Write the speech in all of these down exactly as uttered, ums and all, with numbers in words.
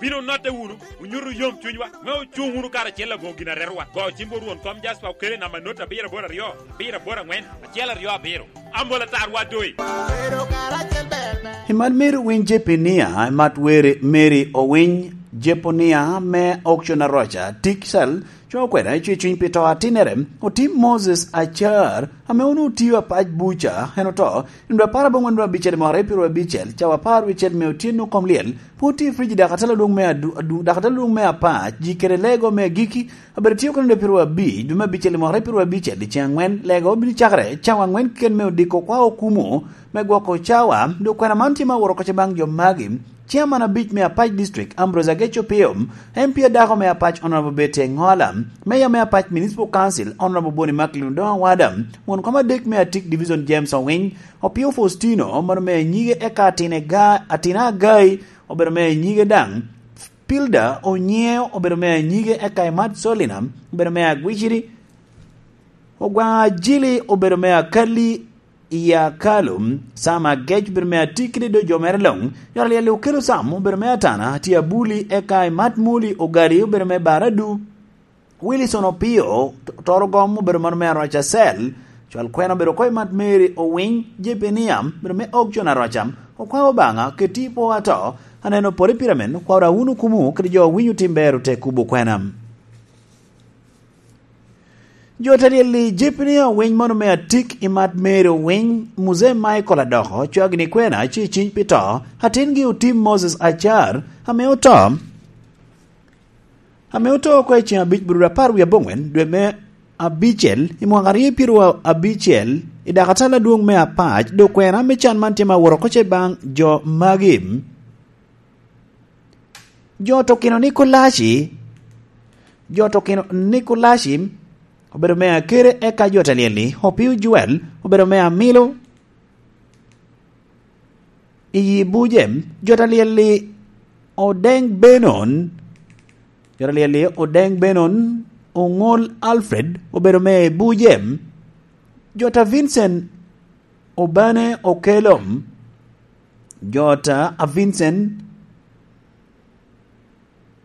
Bino notte wunu, onyutu yom cunywa, me ocuŋ wunu karacel aboŋo gin arerowa. Go cim bot Rwon kom Jasper Okele namba not abiro aboro aryo, abiro aboro aŋwen, acel aryo abiro. Ambola tarwa doi. Imat Mary Owiny Jepinia, imat were Mary Owiny Jeponia me Auction Aroca, Tiksel, coŋo kwena i cuny pito atinere, otim Moses Acar, ame onwoŋo tio apac buca, en oto, i nino apar aboŋwen dwe abicel i mwaka aryo abicel, cawa apar wicel me otyeno kom lyel, pwod tye i frij i dakatala adwoŋ me adu-, adu-, dakatala adwoŋ me apac, ji kede lego me agikki, abedo tio kene dwe piro abic, dwe me abicel i mwaka aryo abicel, i ceŋ aŋwen, lego obino cakere, cawa aŋwen keken me odiko kwa okumo, me gwoko cawa, dok kwena man tye ma oworo koca baŋ jo magi, Chairman abic me Apac District, Ambrose Ageco Pio, M P adako me Apac, Honorable Betty Engola, Mayor me Apac Municipal Council, Honorable Boni Macklin Odongo Awada, won kom adek me Atik Division, James Owiny, Opio Faustino, mano me nyige eka Atine Ga-, Atina Agai, obedo me nyige daŋ, Pilda Onyieo, obedo me nyige eka Imat Solina, obedo me Agwiciri, Ogwaŋ Ajili, obedo me Akali, i akalo, Sam Agec obedo me Atik kede do jo mere luŋ, jo alyel Okelo Sam obedo me Atana, tye Abuli, eka Imat Muli Ogali obedo me Baradu, Wilson Opio, Toro Gom obedo mano me Aroca Cell, cwal kwena obedo oko Imat Mary Owiny, Jepenia obedo me Auction Aroca, okwa Obaŋa, keti po ato, aneno pore pire men, okwa Rawunu Kumu kede jo winyo tim ber ote kubo kwena. Jo te lyel-li, Jepini Owiny mano me Atik, Imat Mary Owiny, Muzee Michael Adoko, cwagini kwena, ci ciny pi to, atingi Otim Moses Acar, ame oto, ame oto oko i ceŋ abic bur apar wie aboŋwen, dwe me abicel, i mwaka aryo pyero abicel, i dakatala adwoŋ me Apac, dok kwena me can man tye ma woro oko ce baŋ jo magi. Jo tokino Nikolaci, jo tokino Nikolaci obedo me Akere, eka jo te lyel-li, Opio Joel obedo me Amilo, i Buje, jo te lyel-li, Odeng Benon, jo te lyel-li, Odeng Benon, Oŋol Alfred obedo me Buje, jo ta Vincent Obane Okelo, jo ta a Vincent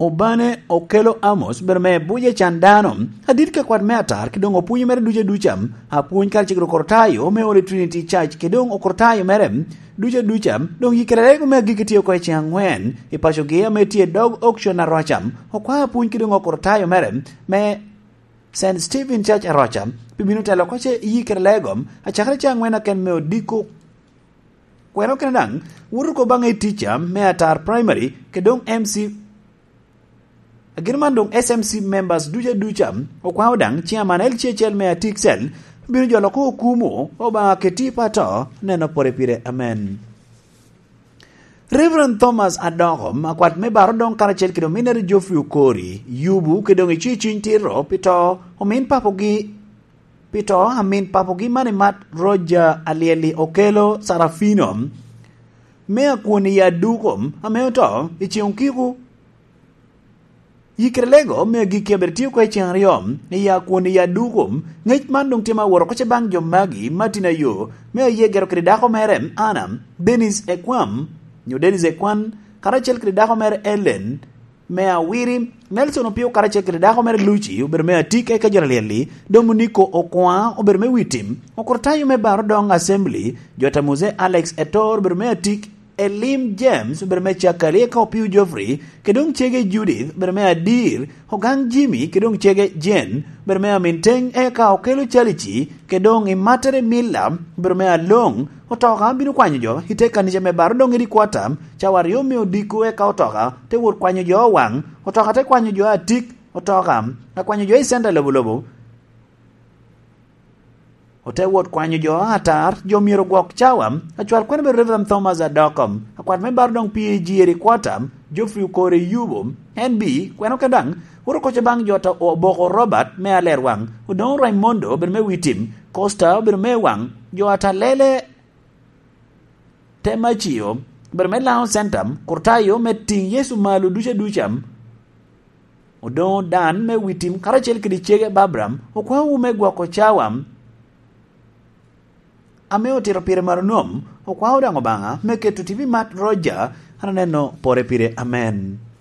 Obane Okelo Amos, bedo me Buje can dano, adit ka kwat me atar, ki doŋ opwonyo mere duca duca, apwony karacel kede Okortayo me Holy Trinity Church, ki doŋ Okortayo mere duca duca, doŋ yikere rego me agikki tye oko i ceŋ aŋwen, i pacogi ame tye dog Auction Aroca, okwa apwony ki doŋ Okortayo mere me Saint Stephen Church Aroca, pi bino telo oko ce yikere lego, acakere ceŋ aŋwen aken me odiko. Kwena okene daŋ, woto oko baŋ i tica me Atar Primary, ke doŋ M C. Agin man doŋ S M C members duca duca, okwao daŋ chairman L C H L me Atik Cell, bino jolo oko okumo, Obaŋa keti pato, neno pore pire. Amen. Reverend Thomas Adoko, akwat me Baro doŋ karacel kede ominere Geoffrey Okori, yubu ke doŋ icwiny cwiny tito pi to, omin papogi pi to, amin papogi man imat Roger Alyeli Okelo Sarafino, me akwon i Aduko, ame oto i ceŋ okiko. Yikere lego me agikki abedo tye oko i ceŋ aryo, i akwon i Aduko, ŋec man doŋ tye ma woro oko ce baŋ jo magi, Martin Ayo, me aye gero kede dako mere, Anna, Dennis Ekwam, nyo Dennis Ekwan, karacel kede dako mere Ellen, me Awiri, Nelson Opio karacel kede dako mere Lucy, obedo me Atik, eka jo alyel-li, Domuniko Okwa, obedo me Witim, Okortayo me Baro Doŋ Assembly, jo ta Mose Alex Etor, obedo me Atik, Elim James, obedo me Cakali, eka Opio Geoffrey, ke doŋ cege Judith, obedo me Adir, Ogaŋ Jimmy, ke doŋ cege Jane, obedo me Amin Teŋ, eka Okelo Calici, ke doŋ i Matere Milla, obedo me Aloŋ, otoka bino kwanyo jo, i te kanica me Baro doŋ i Dikwata, cawa aryo me odiko eka otoka te wot kwanyo jo Owaŋ, otoka te kwanyo jo Atik, otoka akwanyo jo i center lobo lobo, ote wot kwanyo jo Atar, jo myero ogwok cawa, acwal kwene bedo Reverend Thomas Adoko, akwat me Baro doŋ P A G i Dikwata, Geoffrey Okori Yubo, N B, kwene okene daŋ, woto oko ce baŋ jo ta Oboko Robert me Alerwaŋ, Odoŋo Raimondo obedo me Witim, Costa obedo me Waŋ, jo Atalele, Temacio, obedo me Lion Center, Kurtayo me Tiŋ Yecu Malo duca duca, Odoŋo Dan me Witim karacel kede cege Babram, okwaowu me gwoko cawa ame otito pire maronom, okwao daŋ Obaŋa me keto tipo i mat Roger, an aneno pore pire. Amen.